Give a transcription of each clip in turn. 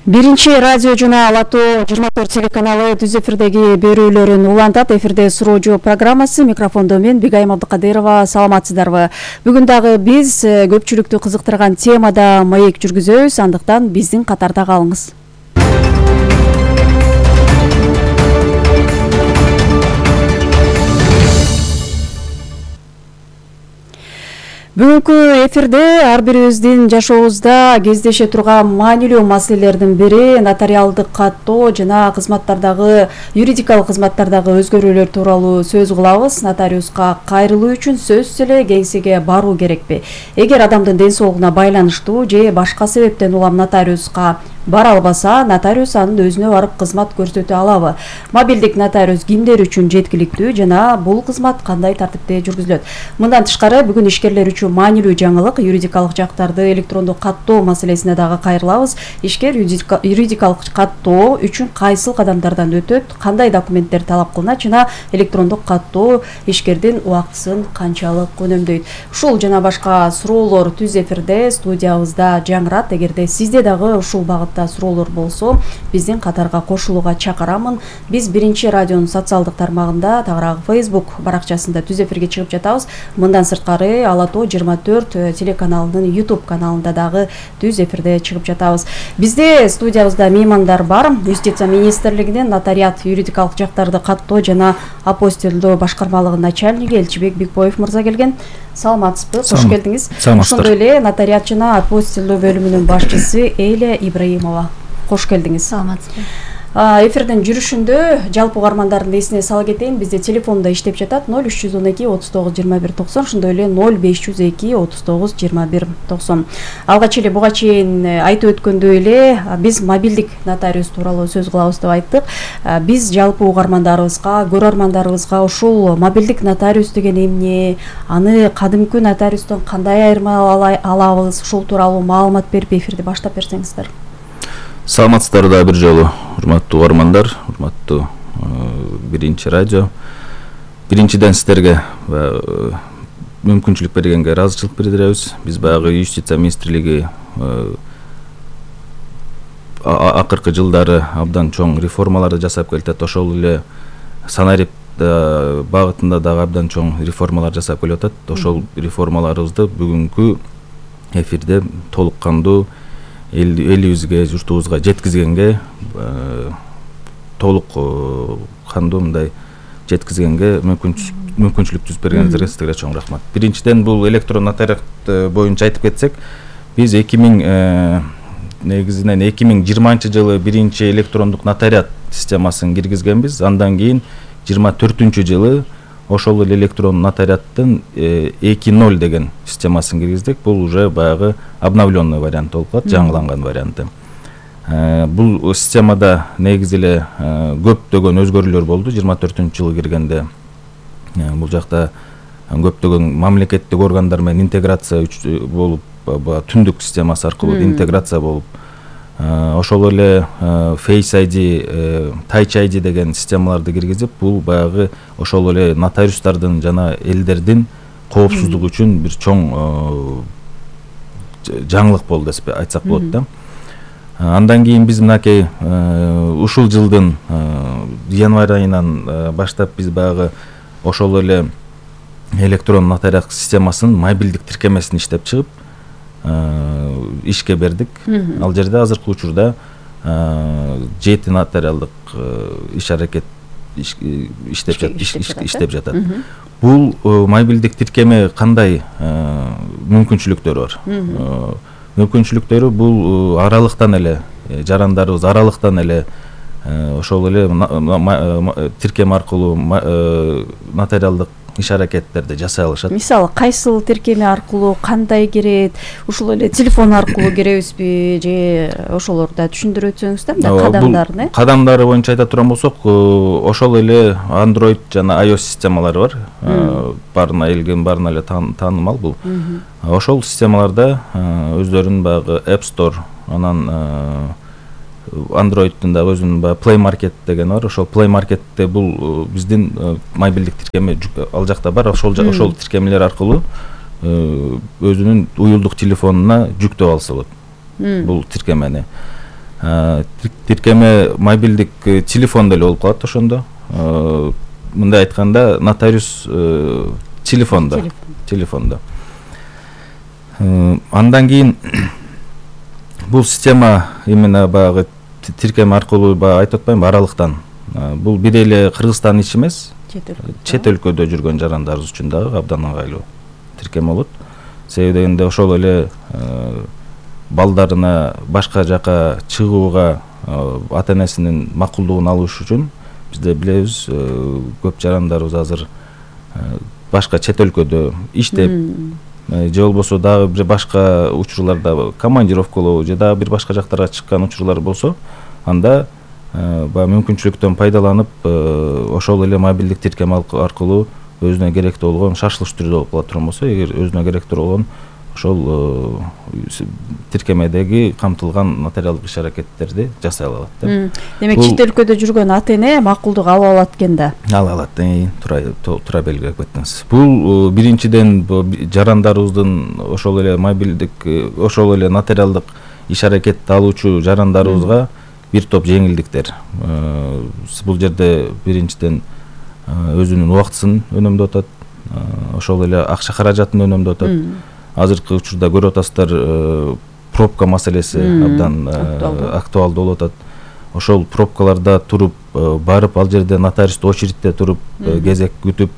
Биринчи радио жана Ала-Тоо 24 телеканалы түз эфирдеги берүүлөрүн улантат. Эфирде суроо жооп программасы. Микрофондо мен Бигайым Абдыкадырова. Саламатсыздарбы? Бүгүн дагы биз көпчүлүктү кызыктырган темада маек жүргүзөбүз. Андыктан биздин катарда калыңыз. Бүгүнкү эфирде ар бирибиздин жашообузда кездеше турган маанилүү маселелердин бири нотариалдык каттоо жана кызматтардагы юридикалык кызматтардагы өзгөрүүлөр тууралуу сөз кылабыз. Нотариуска кайрылуу үчүн сөзсүз эле кеңсеге баруу керекпи? Эгер адамдын ден соолугуна байланыштуу же башка себептен улам нотариуска бара албаса, нотариус анын өзүнө барып кызмат көрсөтө алабы? Мобилдик нотариус кимдер үчүн жеткиликтүү жана бул кызмат кандай тартипте жүргүзүлөт? Мындан тышкары бүгүн ишкерлер үчүн маанилүү жаңылык юридикалык жактарды электрондук каттоо маселесине дагы кайрылабыз. Ишкер юридикалык каттоо үчүн кайсыл кадамдардан өтөт, кандай документтер талап кылынат жана электрондук каттоо ишкердин убактысын канчалык үнөмдөйт? Ушул жана башка суроолор түз эфирде студиябызда жаңырат. Эгерде сизде дагы ушул багытта суроолор болсо, биздин катарга кошулууга чакырамын. Биз биринчи радионун социалдык тармагында, тагыраагы Facebook баракчасында түз эфирге чыгып жатабыз. Мындан сырткары Ала-Тоо 24 телеканалынын YouTube каналында дагы түз эфирде чыгып жатабыз. Бизде студиябызда меймандар бар. Юстиция министрлигинин нотариат юридикалык жактарды каттоо жана апостилдөө башкармалыгынын начальниги Элчибек Бикбоев мырза келген. Саламатсызбы? Кош келдиңиз. Ошондой эле нотариат жана апостилдөө бөлүмүнүн башчысы Эйля Ибраимова. Кош келдиңиз. Саламатсызбы? Эфирдин жүрүшүндө жалпы угармандардын эсине сала кетейин. Бизде телефонда иштеп жатат 0312 39 21 90, ошондой эле 0502 39 21 90. Алгач эле буга чейин айтып өткөндөй эле биз мобилдик нотариус тууралуу сөз кылабыз деп айттык. Биз жалпы угармандарыбызга, көрөрмандарыбызга ушул мобилдик нотариус деген эмне, аны кадимкү нотариустон кандай айырмалай алабыз, ушул тууралуу маалымат берип эфирди баштап берсеңиздер. Саламатсыздар да бир жолу, урматтуу угармандар, урматтуу биринчи радио. Биринчиден сиздерге мүмкүнчүлүк бергенге ыраазычылык билдиребиз. Биз баягы Юстиция министрлиги акыркы жылдары абдан чоң реформаларды жасап келатат. Ошол эле санарип багытында дагы абдан чоң реформалар жасап келатат. Ошол реформаларыбызды бүгүнкү эфирде толук кандуу элибизге, журтубузга жеткизгенге, толук кандуу мындай жеткизгенге мүмкүнчүлүк түзүп бергениңизге сизге чоң рахмат. Биринчиден бул электрон нотариат боюнча айтып кетсек, биз 2020 жылы биринчи электрондук нотариат системасын киргизгенбиз. Андан кийин 24 жылы ошол эле электрон нотариаттын 2.0 деген системасын киргиздик. Бул уже баягы обновленный вариант болуп калат, жаңыланган варианты. Бул системада негизи эле көптөгөн өзгөрүүлөр болду. 24-жылы киргенде бул жакта көптөгөн мамлекеттик органдар менен интеграция болуп, түндүк системасы аркылуу интеграция болуп, ошол эле Face ID, Touch ID деген системаларды киргизип, бул баягы ошол эле нотариустардын жана элдердин коопсуздугу үчүн бир чоң жаңылык болду деп айтсак болот да. Андан кийин биз мынакей ушул жылдын январь айынан баштап биз баягы ошол эле электрон нотариат системасын мобилдик тиркемесин иштеп чыгып ишке бердик. Ал жерде азыркы учурда 7 нотариалдык иш-аракет иштеп жатат. Бул мобилдик тиркеме кандай мүмкүнчүлүктөрү бар? Мүмкүнчүлүктөрү бул аралыктан эле, жарандарыбыз аралыктан эле ошол эле тиркеме аркылуу нотариалдык иш-аракеттерди жасай алышат. Мисалы, кайсыл тиркеме аркылуу кандай кирет? Ушул эле телефон аркылуу киребизби же ошолорду түшүндүрүп өтсөңүз да, кадамдарын, Кадамдары боюнча айта турган болсок, ошол эле Android жана iOS системалары бар. Баарына элге баарына эле таанымал бул. Ошол системаларда өздөрүнүн баягы App Store, анан Android'тын да өзүнүн Play Market деген бар. Ошол Play Market'те бул биздин мобилдик тиркеме ал жакта бар. Ошол тиркемелер аркылуу өзүнүн уюлдук телефонуна жүктөп алса болот. Бул тиркемени. тиркеме мобилдик телефондо эле болуп калат ошондо. Мындай айтканда нотариус телефондо. Андан кийин бул система именно баягы тиркеме аркылуу баягы айтып атпаймынбы аралыктан. Бул бир эле Кыргызстандын иши эмес. Чет өлкөдө жүргөн жарандарыбыз үчүн дагы абдан ыңгайлуу тиркеме болот. Себеби дегенде ошол эле балдарына башка жака чыгууга ата энесинин макулдугун алыш үчүн бизде билебиз көп жарандарыбыз азыр башка чет өлкөдө иштеп же болбосо дагы бир башка учурларда командировкалоо же дагы бир башка жактарга чыккан учурлар болсо, анда баягы мүмкүнчүлүктөн пайдаланып ошол эле мобилдик тиркеме аркылуу өзүнө керектүү болгон шашылыш түрдө болуп кала турган болсо, эгер өзүнө керектүү болгон ошол тиркемедеги камтылган нотариалдык иш-аракеттерди жасай алат да. Демек чет өлкөдө жүргөн ата эне макулдук ала алат экен да. Ала алат. Туура белгилеп кеттиңиз. Бул биринчиден жарандарыбыздын ошол эле мобилдик ошол эле нотариалдык иш-аракетти алуучу жарандарыбызга бир топ жеңилдиктер. Бул жерде биринчиден өзүнүн убактысын үнөмдөп атат, ошол эле акча каражатын үнөмдөп атат. Азыркы учурда көрүп атасыздар, пробка маселеси абдан актуалдуу болуп атат. Ошол пробкаларда туруп барып, ал жерде нотариусту очередьте туруп кезек күтүп,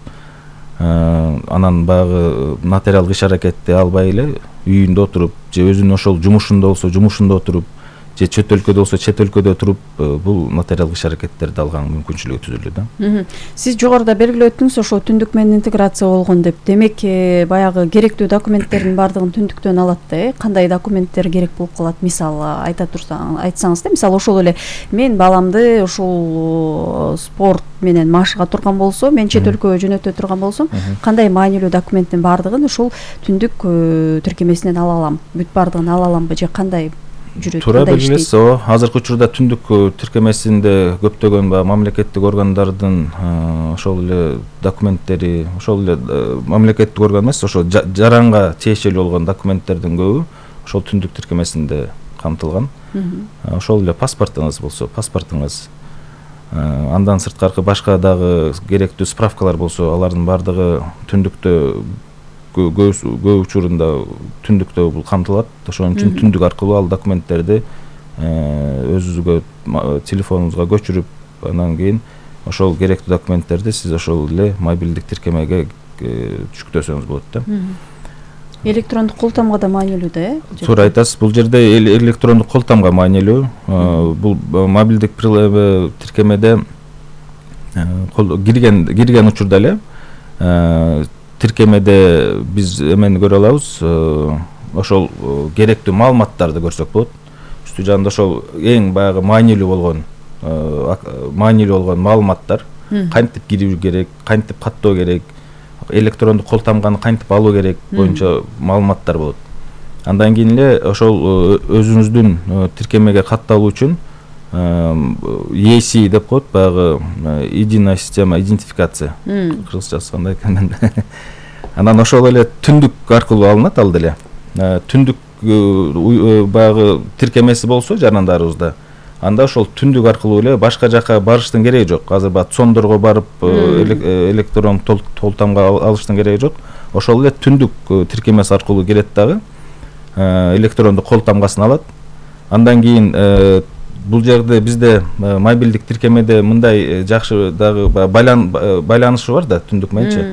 анан баягы нотариалдык иш-аракетти албай эле үйүндө отуруп, же өзүнүн ошол жумушунда болсо жумушунда отуруп, же чет өлкөдө болсо чет өлкөдө туруп бул нотариалдык иш-аракеттерди алган мүмкүнчүлүгү түзүлдү да. Сиз жогоруда белгилеп өттүңүз, ошо түндүк менен интеграция болгон деп. Демек баягы керектүү документтердин баардыгын түндүктөн алат да. Кандай документтер керек болуп калат? Мисалы айтсаңыз да, мисалы ошол эле мен баламды ушул спорт менен машыга турган болсо, мен чет өлкөгө жөнөтө турган болсом, кандай маанилүү документтин баардыгын ушул түндүк тиркемесинен ала алам? Бүт баардыгын ала аламбы же кандай? Туура белгилесиз. Азыркы учурда түндүк тиркемесинде көптөгөн мамлекеттик органдардын ошол эле документтери, ошол эле мамлекеттик орган эмес, ошол жаранга тиешелүү болгон документтердин көбү ошол түндүк тиркемесинде камтылган. Ошол эле паспортуңуз болсо, паспортуңуз, андан сырткары башка дагы керектүү справкалар болсо, алардын баардыгы түндүктө көп учурунда түндүктө бул камтылат. Ошон үчүн түндүк аркылуу ал документтерди өзүңүзгө телефонуңузга көчүрүп, андан кийин ошол керектүү документтерди сиз ошол эле мобилдик тиркемеге жүктөсөңүз болот да. Электрондук кол тамга да маанилүү да, Туура айтасыз. Бул жерде электрондук кол тамга маанилүү. Бул мобилдик тиркемеде кирген учурда эле тиркемеде биз эмени көрө алабыз, ошол керектүү маалыматтарды көрсөк болот. Үстү жанында ошол эң баягы маанилүү болгон маалыматтар, кантип кирүү керек, кантип каттоо керек, электрондук кол тамганы кантип алуу керек боюнча маалыматтар болот. Андан кийин эле ошол өзүңүздүн тиркемеге катталуу үчүн EC деп коет, баягы единая система идентификация. Кыргызчасы кандай экен? Анан ошол эле түндүк аркылуу алынат ал деле. Түндүк баягы тиркемеси болсо жарандарыбызда, анда ошол түндүк аркылуу эле башка жака барыштын кереги жок. Азыр цондорго барып электрон кол тамга алыштын кереги жок. Ошол эле түндүк тиркемеси аркылуу келет дагы электрондук кол тамгасын алат. Андан кийин бул жерде бизде мобилдик тиркемеде мындай жакшы дагы байланышы бар да түндүк мененчи.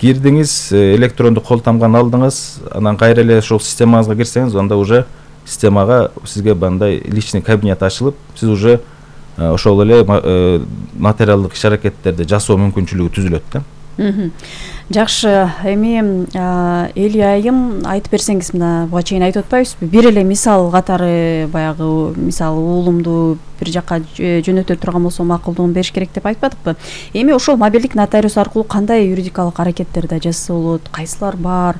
Кирдиңиз, электрондук кол тамганы алдыңыз, анан кайра эле ошол системаңызга кирсеңиз, анда уже системага сизге мындай личный кабинет ачылып, сиз уже ошол эле нотариалдык иш-аракеттерди жасоо мүмкүнчүлүгү түзүлөт да. Жакшы, эми Эли айым айтып берсеңиз, мына буга чейин айтып атпайбызбы? Бир эле мисал катары, баягы мисалы уулумду бир жака жөнөтө турган болсо макулдугун бериш керек деп айтпадыкпы? Эми ошол мобилдик нотариус аркылуу кандай юридикалык аракеттерди жасаса болот, кайсылар бар?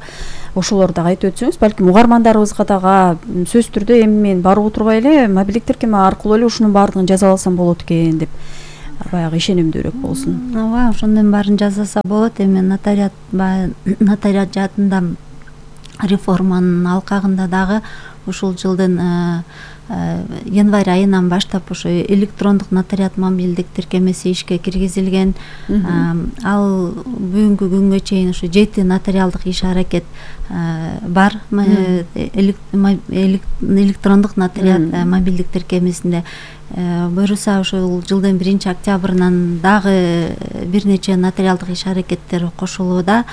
Ошолорду дагы айтып өтсөңүз, балким угармандарыбызга дагы сөзсүз түрдө эми мен барып отурбай эле мобилдик тиркеме аркылуу эле ушунун баардыгын жаза алсам болот экен деп баягы ишенимдүүрөөк болсун. Ооба, ошондон баарын жасаса болот. Эми нотариат жаатында реформанын алкагында дагы ушул жылдын январь айынан баштап ошо электрондук нотариат мобилдик тиркемеси ишке киргизилген. Ал бүгүнкү күнгө чейин ушу 7 нотариалдык иш аракет бар электрондук нотариат мобилдик тиркемесинде. Буюрса ушул жылдын 1-октябрынан дагы бир нече нотариалдык иш аракеттер кошулууда.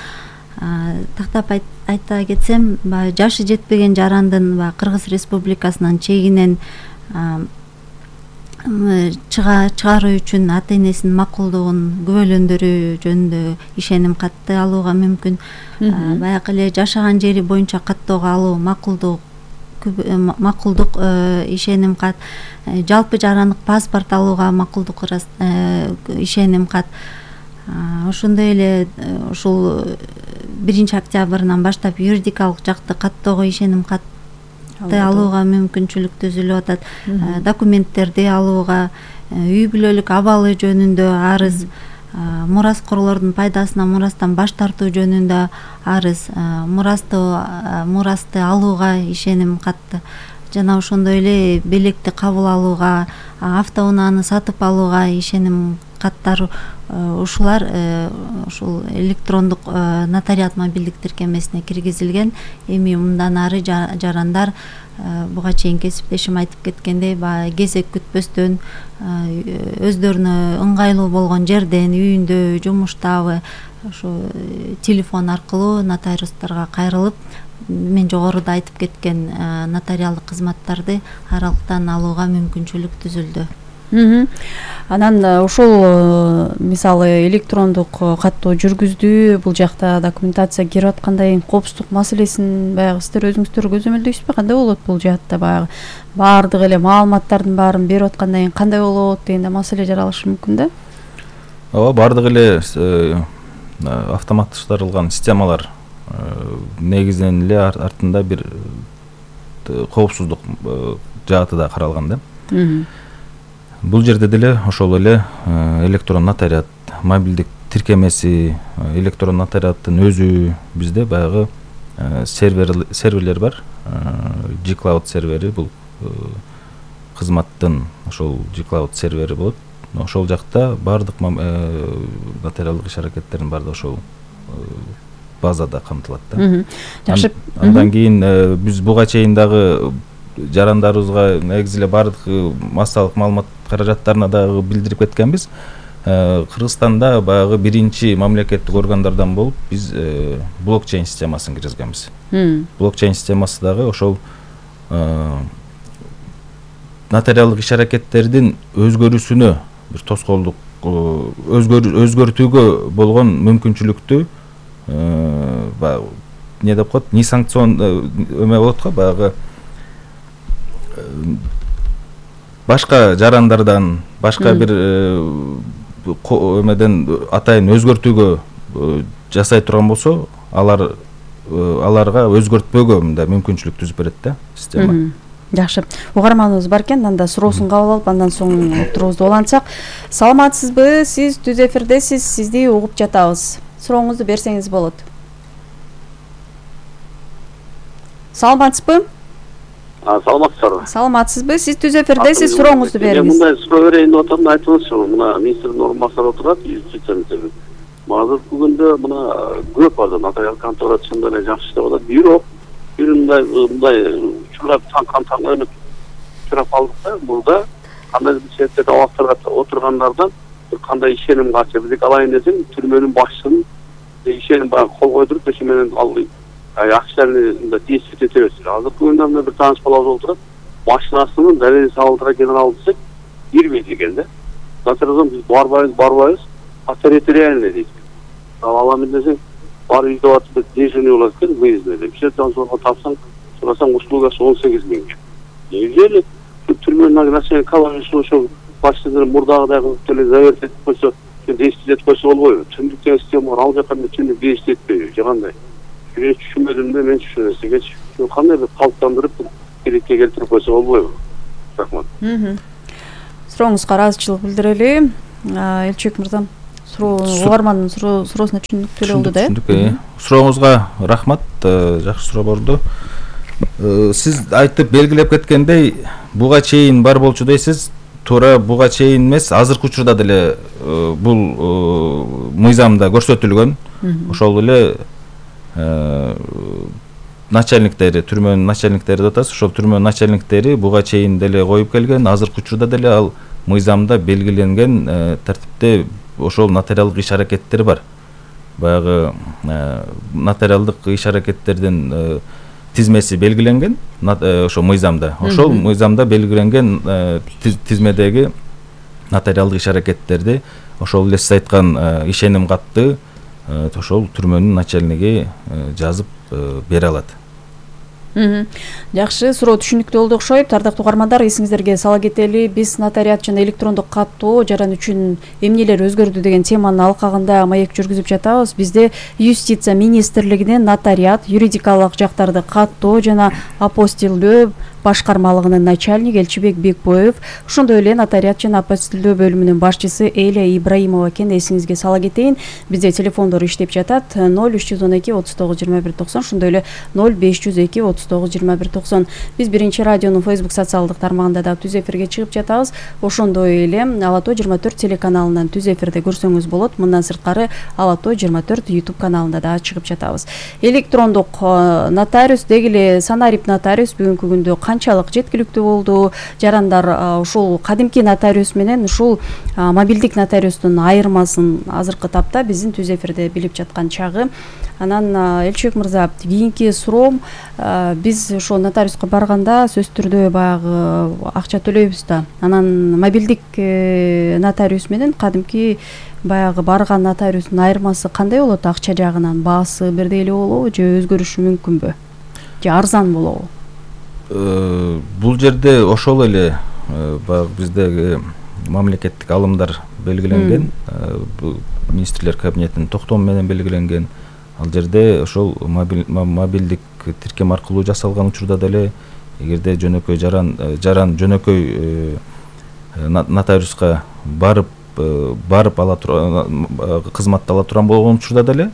Тактап айта кетсем, жашы жетпеген жарандын Кыргыз Республикасынын чегинен чыгаруу үчүн ата энесинин макулдугун күбөлөндөрүү жөнүндө ишеним катты алууга мүмкүн. Баягы эле жашаган жери боюнча каттоого алуу макулдук ишеним кат, жалпы жарандык паспорт алууга макулдук ишеним кат. Ошондой эле ушул 1-октябрынан баштап юридикалык жакты каттоого ишеним катты алууга мүмкүнчүлүк түзүлүп атат. Документтерди алууга, үй бүлөлүк абалы жөнүндө арыз, мураскорлордун пайдасына мурастан баш тартуу жөнүндө арыз, мурасты алууга ишеним катты, жана ошондой эле белекти кабыл алууга, автоунааны сатып алууга ишеним каттар ушулар ушул электрондук нотариат мобилдик тиркемесине киргизилген. Эми мындан ары жарандар буга чейин кесиптешим айтып кеткендей, кезек күтпөстөн өздөрүнө ыңгайлуу болгон жерден, үйүндө, жумуштабы ошо телефон аркылуу нотариустарга кайрылып, мен жогоруда айтып кеткен нотариалдык кызматтарды аралыктан алууга мүмкүнчүлүк түзүлдү. Анан ушул мисалы электрондук каттоо жүргүздү, бул жакта документация кирип аткандай коопсуздук маселесин баягы сиздер өзүңүздөр көзөмөлдөйсүзбү? Кандай болот бул жаатта? Баягы баардык эле маалыматтардын баарын берип аткандан кийин кандай болот дегенде маселе жаралышы мүмкүн да? Ооба, баардык эле автоматташтырылган системалар негизинен эле артында бир коопсуздук жааты да каралган да. Бул жерде деле ошол эле электрон нотариат мобилдик тиркемеси, электрон нотариаттын өзү бизде баягы серверлер бар. G-Cloud сервери бул кызматтын ошол G-Cloud сервери болот. Ошол жакта баардык нотариалдык иш аракеттердин баардыгы ошол базада камтылат да. Жакшы. Андан кийин биз буга чейин дагы жарандарыбызга негизи эле баардык массалык маалымат каражаттарына дагы билдирип кеткенбиз. Кыргызстанда баягы биринчи мамлекеттик органдардан болуп биз блокчейн системасын киргизгенбиз. Блокчейн системасы дагы ошол нотариалдык иш аракеттердин өзгөрүүсүнө бир тоскоолдук өзгөртүүгө болгон мүмкүнчүлүктү эмне деп коет, несанкцион эме болот го, баягы башка жарандардан, башка бир эмеден атайын өзгөртүүгө жасай турган болсо, аларга өзгөртпөөгө мындай мүмкүнчүлүк түзүп берет да система. Жакшы. Угарманыбыз бар экен, анда суроосун кабыл алып, андан соң отурубузду улантсак. Саламатсызбы? Сиз түз эфирдесиз, сизди угуп жатабыз. Сурооңузду берсеңиз болот. Саламатсызбы? Саламатсызбы? Саламатсызбы? Сиз түз эфирдесиз, сурооңузду бериңиз. Мындай суроо берейин деп атам, айтыңызчы. Мына министрдин орун басары отурат, юстиция. Азыркы күндө мына көп бар нотариал контора чындап эле жакшы иштеп атат. Бирок бир мындай учурлар таң чурап алдык да. Мурда кандайдыр бир себептерден абактарга отургандардан бир кандай ишеним качы. Биздики алайын десең, түрмөнүн башчысын ишеним баягы кол койдуруп, ошо менен ал акчаларны действовать эте берсин. Азыркы күндө бир тааныш балабыз отурат. Машинасынын далилин салдыра генерал десек, кирбейт экен да. Натариалдан биз барбайбыз, территориальный дейт. Аламын десең, бар үйдө атып дежурный болот экен, выездный деп. Бишетен сорго тапсаң, сурасаң услугасы 18 000. Неужели түрмөнүн начальник колониясы ошо башчылар мурдагыдай кылып деле заверт этип койсо, действовать этип койсо болбойбу? Түндүк деген система бар, ал жака түндүк действовать этпейби, же кандай? Мен түшүнбөдүм да, мен түшүнөсүңчү. Кандай бир калыптандырып, керекке келтирип койсо болбойбу? Рахмат. Сурооңузга ыраазычылык билдирели. Элчибек мырза, угармандын суроосуна түшүндүктүү болду да? Түшүндүк. Сурооңузга рахмат. Жакшы суроо болду. Сиз айтып белгилеп кеткендей, буга чейин бар болчу дейсиз. Туура буга чейин эмес, азыркы учурда деле бул мыйзамда көрсөтүлгөн. Ошол эле начальниктери, түрмөнүн начальниктери деп атабыз. Ошол түрмөнүн начальниктери буга чейин деле коюп келген, азыркы учурда деле ал мыйзамда белгиленген тартипте ошол нотариалдык иш-аракеттер бар. Баягы нотариалдык иш-аракеттердин тизмеси белгиленген ошо мыйзамда. Ошол мыйзамда белгиленген тизмедеги нотариалдык иш-аракеттерди ошол эле сиз айткан ишеним катты ошол түрмөнүн начальниги жазып бере алат. Жакшы, суроо түшүнүктүү болду окшойт. Ардактуу угармандар, эсиңиздерге сала кетели, биз нотариат жана электрондук каттоо жаран үчүн эмнелер өзгөрдү деген теманын алкагында маек жүргүзүп жатабыз. Бизде Юстиция министрлигинин нотариат, юридикалык жактарды каттоо жана апостилдөө башкармалыгынын начальниги Элчибек Бекбоев, ошондой эле нотариат жана апостилдөө бөлүмүнүн башчысы Эля Ибраимова экен. Эсиңизге сала кетейин, бизде телефондор иштеп жатат 0312 39 21 90, ошондой эле 0502 39 21 90. Биз биринчи радионун Facebook социалдык тармагында да түз эфирге чыгып жатабыз. Ошондой эле Ала тоо 24 телеканалынан түз эфирде көрсөңүз болот. Мындан сырткары Ала тоо 24 YouTube каналында да чыгып жатабыз. Электрондук нотариус деги эле санарип нотариус бүгүнкү күндө канчалык жеткиликтүү болду? Жарандар ушул кадимки нотариус менен ушул мобилдик нотариустун айырмасын азыркы тапта биздин түз эфирде билип жаткан чагы. Анан Элчибек мырза, кийинки суроом, биз ошо нотариуска барганда сөзсүз түрдө баягы акча төлөйбүз да. Анан мобилдик нотариус менен кадимки баягы барган нотариустун айырмасы кандай болот? Акча жагынан баасы бирдей эле болобу же өзгөрүшү мүмкүнбү? Же арзан болобу? Бул жерде ошол эле баягы биздеги мамлекеттик алымдар белгиленген, министрлер кабинетинин токтому менен белгиленген. Ал жерде ошол мобилдик тиркем аркылуу жасалган учурда деле эгерде жөнөкөй жаран жөнөкөй нотариуска барып ала кызматты ала турган болгон учурда деле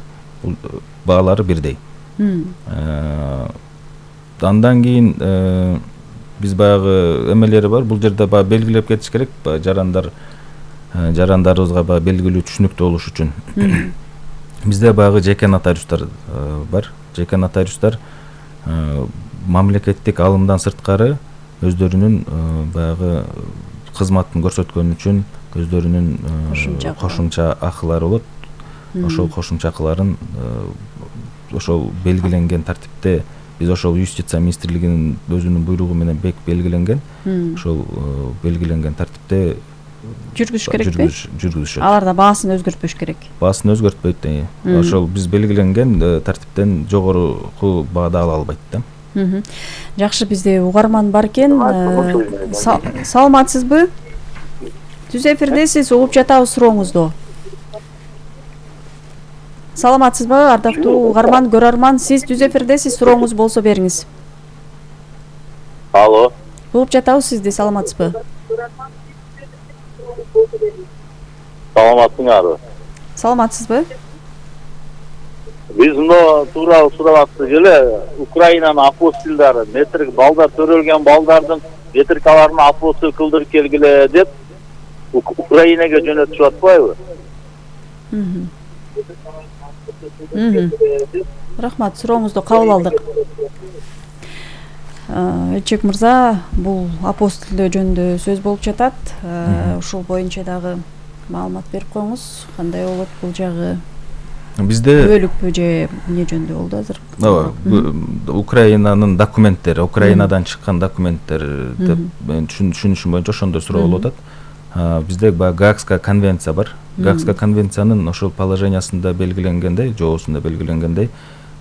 баалары бирдей. Андан кийин биз баягы эмелери бар. Бул жерде баягы белгилеп кетиш керек, жарандарыбызга баягы белгилүү түшүнүктүү болуш үчүн. Бизде баягы жеке нотариустар бар. Жеке нотариустар мамлекеттик алымдан сырткары өздөрүнүн баягы кызматын көрсөткөн үчүн өздөрүнүн кошумча акылары болот. Ошол кошумча акыларын ошол белгиленген тартипте биз ошол Юстиция министрлигинин өзүнүн буйругу менен белгиленген. Ошол белгиленген тартипте жүргүзүш керекпи? Жүргүзүшөт. Аларда баасын өзгөртпөш керек. Баасын өзгөртпөйт. Ошол биз белгиленген тартиптен жогорку баада ала албайт да. Жакшы, бизде угарман бар экен. Саламатсызбы? Түз эфирдесиз, угуп жатабыз сурооңузду. Саламатсызбы, ардактуу угарман, көрөрман, сиз түз эфирдесиз, сурооңуз болсо бериңиз. Алло. Угуп жатабыз сизди, саламатсызбы? Саламатсыңарбы? Саламатсызбы? Биз мына тууралуу сурап аттык эле Украинанын апостилдары метрик балдар төрөлгөн балдардын метрикаларын апостил кылдырып келгиле деп Украинага жөнөтүшүп атпайбы? Рахмат, сурооңузду кабыл алдык. Элчибек мырза, бул апостилдөө жөнүндө сөз болуп жатат. Ушул боюнча дагы маалымат берип коюңуз. Кандай болот бул жагы? Бизде бөлүкпү же эмне жөнүндө болду азыр? Украинанын документтери, Украинадан чыккан документтер деп мен түшүнүшүм боюнча ошондой суроо болуп атат. Бизде Гаагская конвенция бар. Гаагская конвенциянын ошол положениясында белгиленгендей, жоосунда белгиленгендей,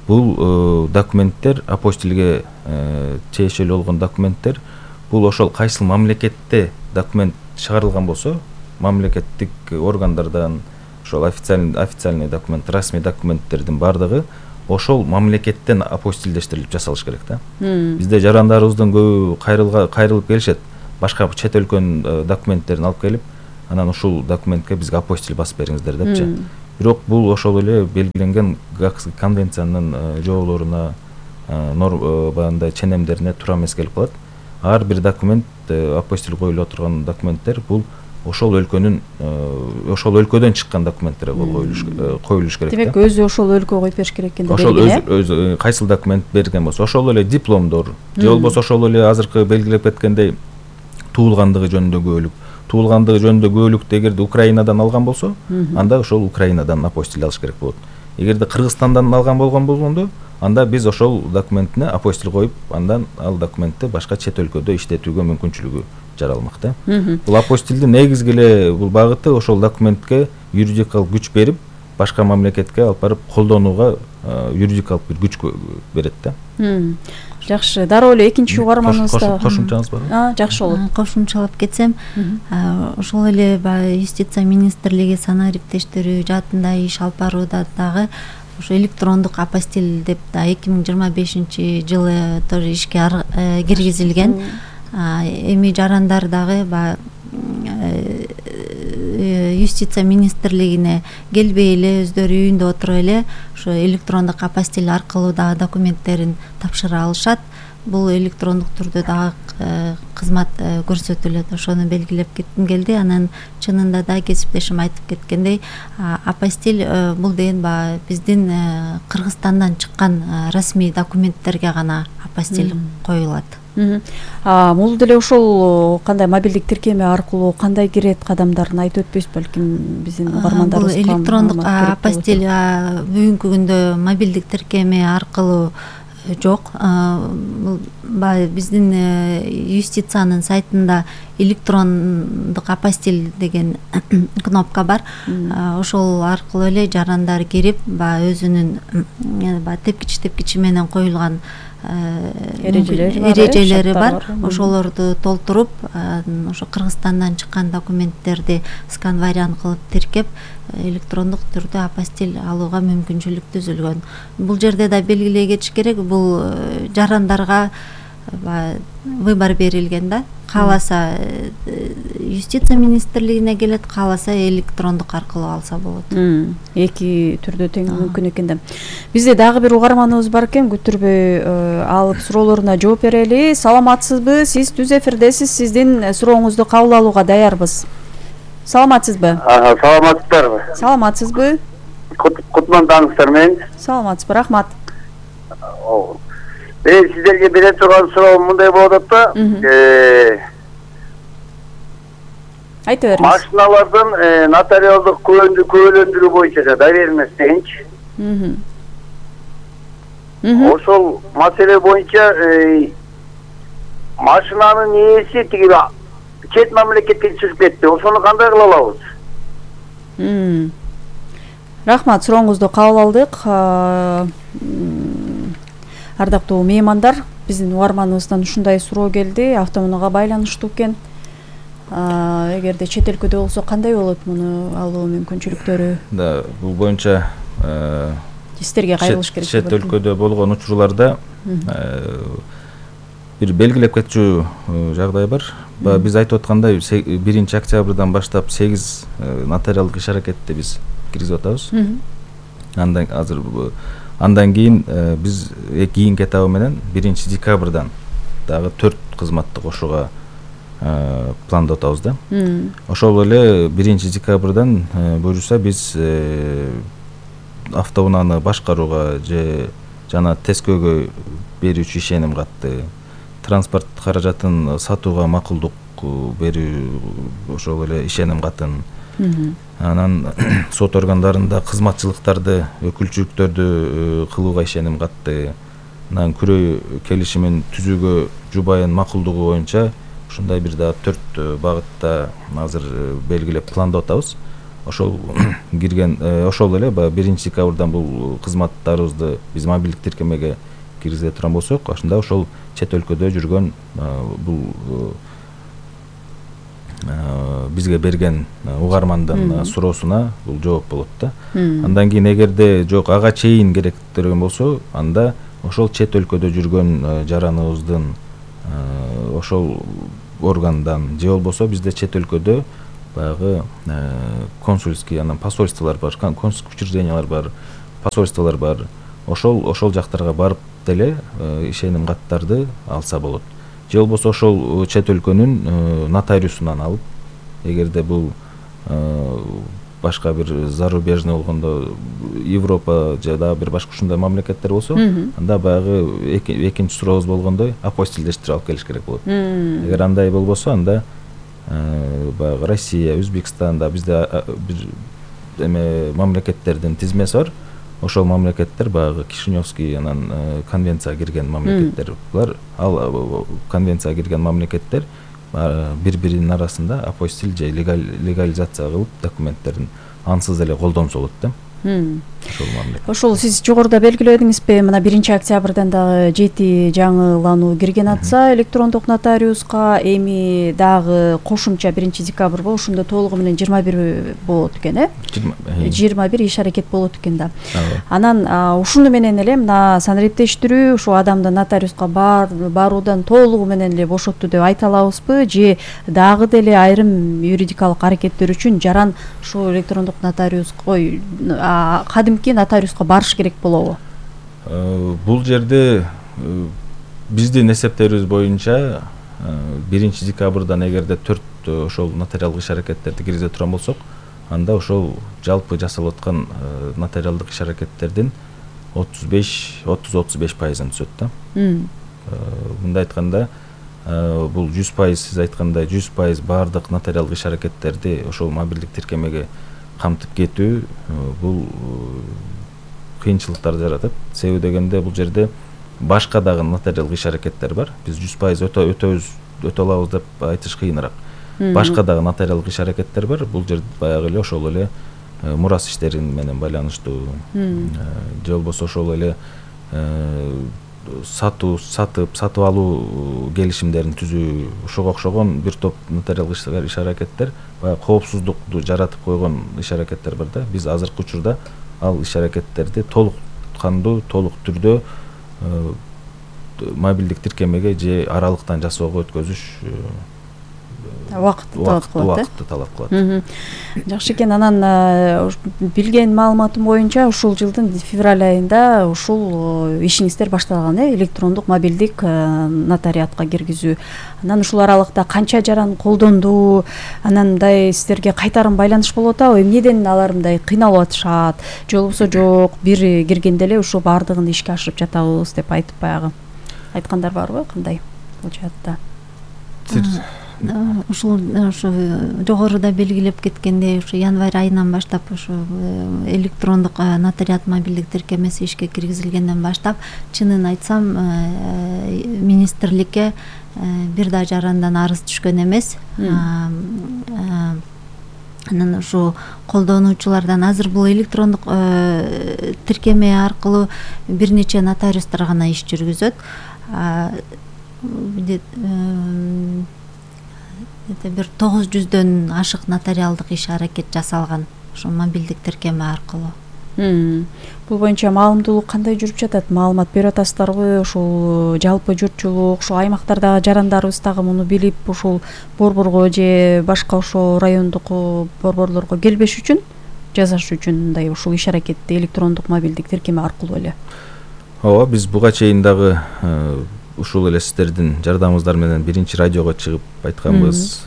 бул документтер апостилге тиешелүү болгон документтер. Бул ошол кайсыл мамлекетте документ чыгарылган болсо, мамлекеттик органдардан ошол официальный документ, расмий документтердин бардыгы ошол мамлекеттен апостилдештирилип жасалыш керек да. Бизде жарандарыбыздын көбү кайрылып келишет, башка чет өлкөнүн документтерин алып келип, анан ушул документке бизге апостил басып бериңиздер депчи. Бирок бул ошол эле белгиленген Гаагская конвенциянын жоолоруна баягындай ченемдерине туура эмес келип калат. Ар бир документ, апостиль коюлуп отурган документтер бул ошол өлкөдөн чыккан документтер коюлуш керек. Демек өзү ошол өлкө коюп бериш керек экен. Ошол өзү кайсыл документ берген болсо, ошол эле дипломдор, же болбосо ошол эле азыркы белгилеп кеткендей туулгандыгы жөнүндө күбөлүктү эгерде Украинадан алган болсо, анда ошол Украинадан апостиль алыш керек болот. Эгерде Кыргызстандан алган болгондо, анда биз ошол документине апостиль коюп, андан ал документти башка чет өлкөдө иштетүүгө мүмкүнчүлүгү жаралмак да. Бул апостилдин негизги эле бул багыты ошол документке юридикалык күч берип, башка мамлекетке алып барып колдонууга юридикалык бир күч берет да. Жакшы, дароо эле экинчи угарманыбызда кошумчаңыз барбы? Жакшы болот. Кошумчалап кетсем, ошол эле юстиция министрлиги санаа иптештери жаатында иш алып барууда дагы ошо электрондук апостиль деп да 2025 жылы тоже ишке киргизилген. Эми жарандар дагы юстиция министрлигине келбей эле өздөрү үйүндө отуруп эле ошо электрондук апостиль аркылуу дагы документтерин тапшыра алышат. Бул электрондук түрдө дагы кызмат көрсөтүлөт. Ошону белгилеп кетким келди. Анан чынында да кесиптешим айтып кеткендей, апостиль бул деген биздин Кыргызстандан чыккан расмий документтерге гана апостиль коюлат. Бул деле ошол кандай мобилдик тиркеме аркылуу кандай кирет кадамдарын айтып өтпөйсүз, балким биздин угармандарыбыз. Бул электрондук апостиль бүгүнкү күндө мобилдик тиркеме аркылуу жок. Биздин юстициянын сайтында электрондук апостиль деген кнопка бар. Ошол аркылуу эле жарандар кирип, өзүнүн тепкичи менен коюлган эрежелери бар. Ошолорду толтуруп, ошо Кыргызстандан чыккан документтерди скан вариант кылып тиркеп, электрондук түрдө апостиль алууга мүмкүнчүлүк түзүлгөн. Бул жерде да белгилей кетиш керек, бул жарандарга выбор берилген да. Кааласа юстиция министрлигине келет, кааласа электрондук аркылуу алса болот. Эки түрдө тең мүмкүн экен да. Бизде дагы бир угарманыбыз бар экен, күтүрбөй алып суроолоруна жооп берели. Саламатсызбы? Сиз түз эфирдесиз. Сиздин сурооңузду кабыл алууга даярбыз. Саламатсызбы? Саламатсыздарбы? Саламатсызбы? Кутман таңыңыздар мен. Саламатсызбы, рахмат. Мен сиздерге бере турган суроом мындай болуп атат да. Айта бериңиз. Машиналардын нотариалдык күбөлөндүрүү боюнча доверенность дегенчи. Ошол маселе боюнча машинанын ээси тиги чет мамлекетке чыгып кетти. Ошону кандай кыла алабыз? Рахмат, сурооңузду кабыл алдык. Ардактуу меймандар, биздин угарманыбыздан ушундай суроо келди, автоунаага байланыштуу экен. Эгерде чет өлкөдө болсо кандай болот муну алуу мүмкүнчүлүктөрү? Да, бул боюнча сиздерге кайрылыш керек. Чет өлкөдө болгон учурларда бир белгилеп кетчү жагдай бар. Биз айтып аткандай 1 октябрдан баштап 8 нотариалдык иш аракетти биз киргизип атабыз. Андан кийин биз кийинки этабы менен 1 декабрдан дагы 4 кызматты кошууга пландап атабыз да. Ошол эле 1 декабрдан буюрса биз автоунааны башкарууга же жана тескөөгө берүүчү ишеним катты, транспорт каражатын сатууга макулдук берүү ошол эле ишеним катын, анан сот органдарында кызматчылыктарды, өкүлчүлүктөрдү кылууга ишеним катты, анан күрөө келишимин түзүүгө жубайын макулдугу боюнча ушундай бир да 4 багытта азыр белгилеп пландап атабыз. Ошол кирген, ошол эле 1 декабрдан бул кызматтарыбызды биз мобилдик тиркемеге киргизе турган болсок, ошондо ошол чет өлкөдө жүргөн бул бизге берген угармандын суроосуна бул жооп болот да. Андан кийин эгерде жок ага чейин керектирген болсо, анда ошол чет өлкөдө жүргөн жараныбыздын ошол органдан же болбосо бизде чет өлкөдө баягы консульский, анан посольстволор бар, консульский учреждениялар бар, посольстволор бар. Ошол жактарга барып деле ишеним каттарды алса болот. Же болбосо ошол чет өлкөнүн нотариусунан алып, эгерде бул башка бир зарубежный болгондо Европа же дагы бир башка ушундай мамлекеттер болсо, анда баягы экинчи сурообуз болгондой апостилдештирип алып келиш керек болот. Эгер андай болбосо, анда баягы Россия, Өзбекстанда бизде бир мамлекеттердин тизмеси бар. Ошол мамлекеттер баягы Кишиневский анан конвенцияга кирген мамлекеттер. Булар ал конвенцияга кирген мамлекеттер бири-биринин арасында апостиль же легализация кылып документтерин ансыз эле колдонсо болот да. Ошол сиз жогоруда белгиледиңизби, мына 1-октябрдан дагы 7 жаңылануу кирген атса электрондук нотариуска, эми дагы кошумча 1-декабрь болуп, ошондо толугу менен 21 болот экен, 21 иш аракет болот экен да. Анан ушуну менен эле мына санариптештирүү ушу адамды нотариуска баруудан толугу менен эле бошотту деп айта алабызбы, же дагы деле айрым юридикалык аракеттер үчүн жаран ушу электрондук нотариуска, кадимки нотариуска барыш керек болобу? Бул жерде биздин эсептерибиз боюнча 1-декабрдан эгерде 4 ошол нотариалдык иш аракеттерди киргизе турган болсок, анда ошол жалпы жасалып аткан нотариалдык иш аракеттердин 30-35% түшөт да. Мындай айтканда, бул 100%, сиз айткандай 100% баардык нотариалдык иш аракеттерди ошол мобилдик тиркемеге камтып кетүү бул кыйынчылыктарды жаратат. Себеби дегенде бул жерде башка дагы нотариалдык иш аракеттер бар. Биз 100% өтө алабыз деп айтыш кыйыныраак. Башка дагы нотариалдык иш аракеттер бар. Бул жерде баягы эле ошол эле мурас иштерин менен байланыштуу, же болбосо ошол эле сатып алуу келишимдерин түзүү, ошого окшогон бир топ нотариалдык иш аракеттер, баягы коопсуздукту жаратып койгон иш аракеттер бар да. Биз азыркы учурда ал иш аракеттерди толук түрдө мобилдик тиркемеге же аралыктан жасоого өткөзүш убакытты талап кылат. Жакшы экен. Анан билген маалыматым боюнча ушул жылдын февраль айында ушул ишиңиздер башталган, электрондук мобилдик нотариатка киргизүү. Анан ушул аралыкта канча жаран колдонду, анан мындай сиздерге кайтарым байланыш болуп атабы? Эмнеден алар мындай кыйналып атышат, же болбосо жок, бир киргенде эле ушу баардыгын ишке ашырып жатабыз деп айтып баягы айткандар барбы? Кандай болчу атта? Ушул жогоруда белгилеп кеткендей, ушу январь айынан баштап ушу электрондук нотариат мобилдик тиркемеси ишке киргизилгенден баштап, чынын айтсам, министрликке бир да жарандан арыз түшкөн эмес. Анан ушу колдонуучулардан азыр бул электрондук тиркеме аркылуу бир нече нотариустар гана иш жүргүзөт. Бир 900дөн ашык нотариалдык иш аракет жасалган ошо мобилдик тиркеме аркылуу. Бул боюнча маалымдуулук кандай жүрүп жатат? Маалымат берип атасыздарбы? Ушул жалпы журтчулук, ушу аймактардагы жарандарыбыз дагы муну билип, ушул борборго же башка ошо райондук борборлорго келбеш үчүн, жасаш үчүн мындай ушул иш аракетти электрондук мобилдик тиркеме аркылуу эле. Ооба, биз буга чейин дагы ушул эле сиздердин жардамыңыздар менен биринчи радиого чыгып айтканбыз.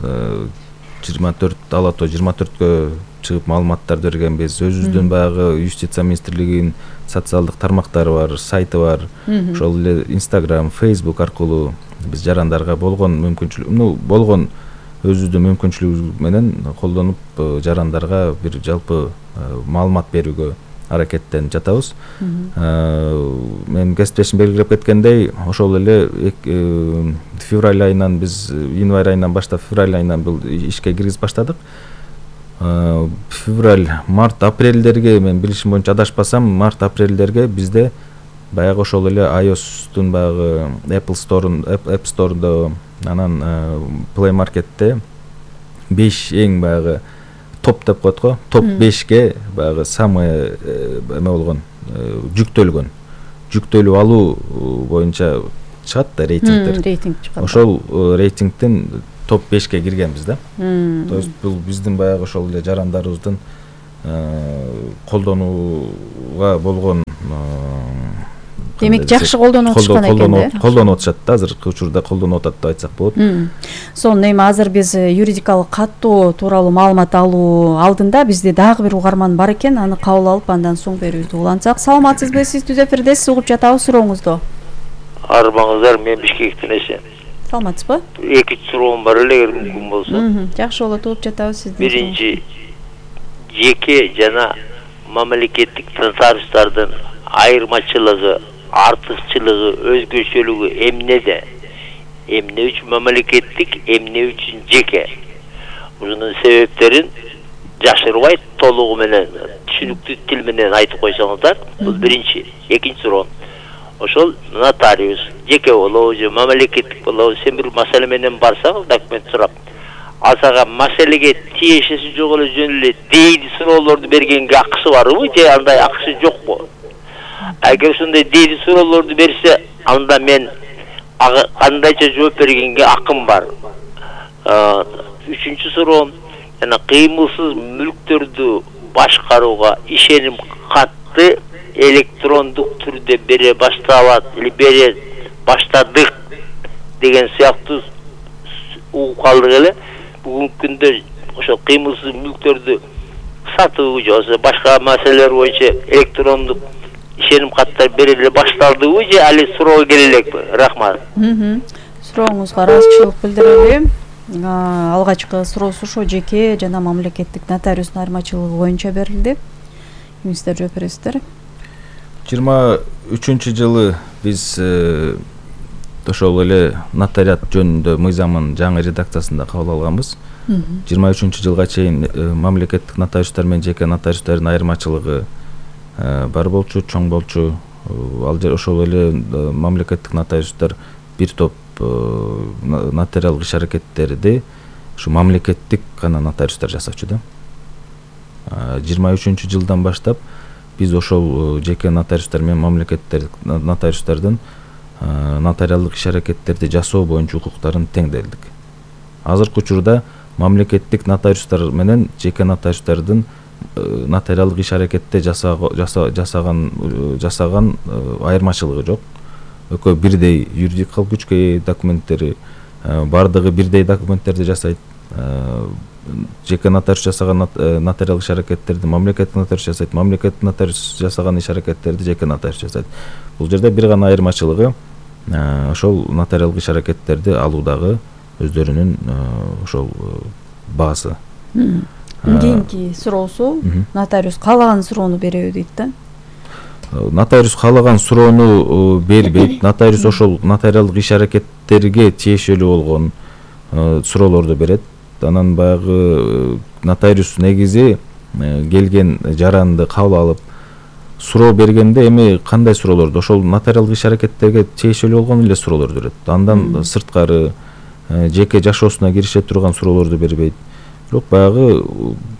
24 Алато 24кө чыгып маалыматтарды бергенбиз. Өзүбүздүн баягы юстиция министрлигинин социалдык тармактары бар, сайты бар. Ошол эле Instagram, Facebook аркылуу биз жарандарга болгон болгон өзүбүздүн мүмкүнчүлүгүбүз менен колдонуп жарандарга бир жалпы маалымат берүүгө аракеттенип жатабыз. Мен кесиптешим белгилеп кеткендей, ошол эле февраль айынан биз январь айынан баштап февраль айынан бул ишке киргизип баштадык. Февраль, март, апрелдерге мен билишим боюнча адашпасам, март, апрелдерге бизде баягы ошол эле iOS-тун баягы App Store'да анан Play Market'те 5 эң баягы топ деп коет го, топ 5ке баягы самый эме болгон жүктөлүп алуу боюнча чыгат да рейтингдер. Рейтинг чыгат. Ошол рейтингден топ 5ке киргенбиз да. То есть бул биздин баягы ошол эле жарандарыбыздын колдонууга болгон Демек жакшы колдонуп атышкан экен да. Колдонуп атышат да, азыркы учурда колдонуп атат деп айтсак болот. Сонун, эми азыр биз юридикалык каттоо тууралуу маалымат алуу алдында бизде дагы бир угарман бар экен, аны кабыл алып андан соң берүүбүздү улантсак. Саламатсызбы, сиз түз эфирдесиз, угуп жатабыз сурооңузду. Арбаңыздар, мен Бишкектен эсен. Саламатсызбы? 2 суроом бар эле, эгер мүмкүн болсо. Жакшы болот, угуп жатабыз сизди. Биринчи, жеке жана мамлекеттик нотариустардын айырмачылыгы, артыкчылыгы, өзгөчөлүгү эмнеде? Эмне үчүн мамлекеттик, эмне үчүн жеке? Бунун себептерин жашырбай толугу менен, түшүнүктүү тил менен айтып койсоңуздар. Бул биринчи. Экинчи суроом. Ошол нотариус жеке болобу же мамлекеттик болобу, сен бир маселе менен барсаң, документ сурап, ал сага маселеге тиешеси жок эле жөн эле дейди суроолорду бергенге акысы барбы же андай акысы жокпу? Эгер ушундай дейди суроолорду берсе, анда мен кандайча жооп бергенге акым бар. Үчүнчү суроом, жана кыймылсыз мүлктөрдү башкарууга ишеним катты электрондук түрдө бере башталат или бере баштадык деген сыяктуу угуп калдык эле. Бүгүнкү күндө ошо кыймылсыз мүлктөрдү сатуу же болбосо башка маселелер боюнча электрондук ишеним каттар бериле башталдыбы же али суроо келе элекпи? Рахмат. Сурооңузга ыраазычылык билдирели. Алгачкы суроосу ошо жеке жана мамлекеттик нотариустун айырмачылыгы боюнча берилди. Сиздер жооп бересиздер. 23-жылы биз ошол эле нотариат жөнүндө мыйзамын жаңы редакциясында кабыл алганбыз. 23-жылга чейин мамлекеттик нотариустар менен жеке нотариустардын айырмачылыгы бар болчу, чоң болчу. Ал жер ошол эле мамлекеттик нотариустар бир топ нотариалдык иш аракеттерди ушу мамлекеттик гана нотариустар жасачу да. 23-жылдан баштап биз ошол жеке нотариустар менен мамлекеттик нотариустардын нотариалдык иш аракеттерди жасоо боюнча укуктарын теңделдик. Азыркы учурда мамлекеттик нотариустар менен жеке нотариустардын нотариалдык иш аракетте жасаган айырмачылыгы жок. Экөө бирдей юридикалык күчкө ээ, документтери бардыгы бирдей документтерди жасайт. Жеке нотариус жасаган нотариалдык иш аракеттерди мамлекеттик нотариус жасайт, мамлекеттик нотариус жасаган иш аракеттерди жеке нотариус жасайт. Бул жерде бир гана айырмачылыгы ошол нотариалдык иш аракеттерди алуудагы өздөрүнүн ошол баасы. Кийинки суроосу нотариус каалаган суроону береби дейт да. Нотариус каалаган суроону бербейт. Нотариус ошол нотариалдык иш аракеттерге тиешелүү болгон суроолорду берет. Анан баягы нотариус негизи келген жаранды кабыл алып суроо бергенде эми кандай суроолорду ошол нотариалдык иш аракеттерге тиешелүү болгон эле суроолорду берет. Андан сырткары жеке жашоосуна кирише турган суроолорду бербейт. Бирок баягы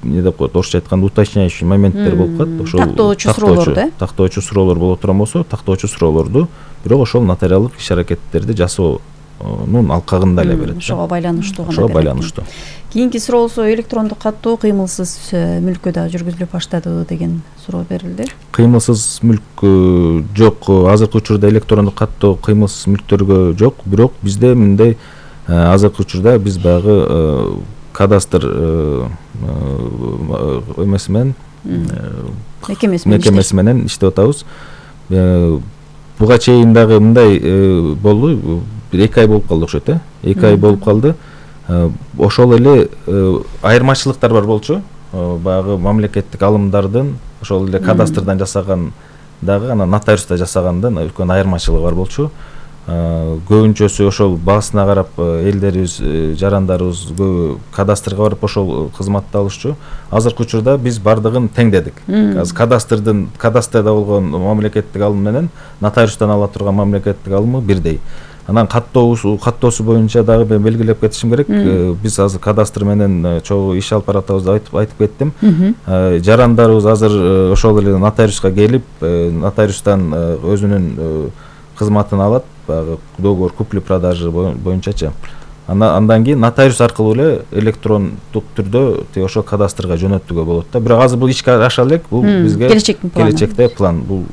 эмне деп коет, орусча айтканда уточняющий моменттер болуп калат. Ошол тактоочу суроолор да. Тактоочу суроолор боло турган болсо, тактоочу суроолорду бирок ошол нотариалдык иш аракеттерди жасоонун алкагында эле берет. Ошого байланыштуу гана. Ошого байланыштуу. Кийинки суроосу электрондук каттоо кыймылсыз мүлккө да жүргүзүлүп баштады деген суроо берилди. Кыймылсыз мүлк жок. Азыркы учурда электрондук каттоо кыймылсыз мүлктөргө жок, бирок бизде мындай азыркы учурда биз баягы кадастр эмеси менен мекемеси менен иштеп атабыз. Буга чейин дагы мындай болду, 2 ай болуп калды окшойт, 2 ай болуп калды. Ошол эле айырмачылыктар бар болчу. Баягы мамлекеттик алымдардын ошол эле кадастрдан жасаган дагы анан нотариуста жасагандан үлкөн айырмачылыгы бар болчу. Көбүнчөсү ошол баасына карап элдерибиз, жарандарыбыз көбү кадастрга барып ошол кызматты алышчу. Азыркы учурда биз бардыгын теңдедик. Азыр кадастрда болгон мамлекеттик алым менен нотариустан ала турган мамлекеттик алымы бирдей. Анан каттоосу боюнча дагы мен белгилеп кетишим керек. Биз азыр кадастр менен чогуу иш алып баратабызды айтып кеттим. Жарандарыбыз азыр ошол эле нотариуска келип, нотариустан өзүнүн кызматын алат. Баягы договор купли-продажы боюнчачы. Андан кийин нотариус аркылуу эле электрондук түрдө ошол кадастрга жөнөтүүгө болот да. Бирок азыр бул ишке аша элек, бул бизге келечекте план. Бул